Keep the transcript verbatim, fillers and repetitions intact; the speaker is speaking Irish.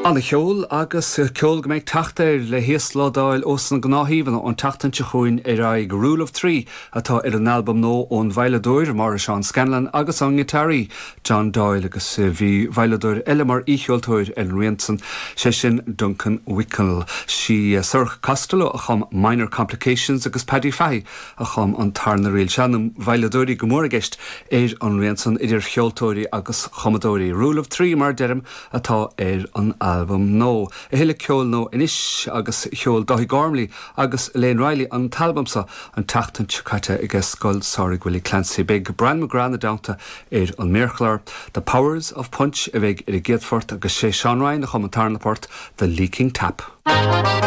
An-cheol agus ceol go mbeidh teacht air le híoslódáil ós na gnáthshuíomhanna ón tseachtain seo chugainn ar aghaidh Rule of Three atá ar an albam nua ón veidhleadóir Máire Seán Scanlon agus an giotáraí John Doyle agus bhí veidhleadóir eile mar aoicheoltóir ar an rian san sé sin Duncan Wickel. Sí Sorcha Costello a chum Minor Complications agus Paddy Fahey a chum an tarna ríl se na veidhleadóirí go mór i gceist ar an rian san idir cheoltóirí agus chumadóirí. Rule of Three mar deirim atá ar an albam nua. A thuilleadh ceoil nua anois agus sheol Dáithí Gormley agus Elaine Riley an t-albam seo an tseachtain seo caite ag Scoil Samhraidh Willie Clancy. Beidh Brian McGrath ina dteannta ar an méarchlár. The Powers of Punch a bheidh ar an gcéad phort agus sé Sean Ryan a chum an tarna port The Leaking Tap.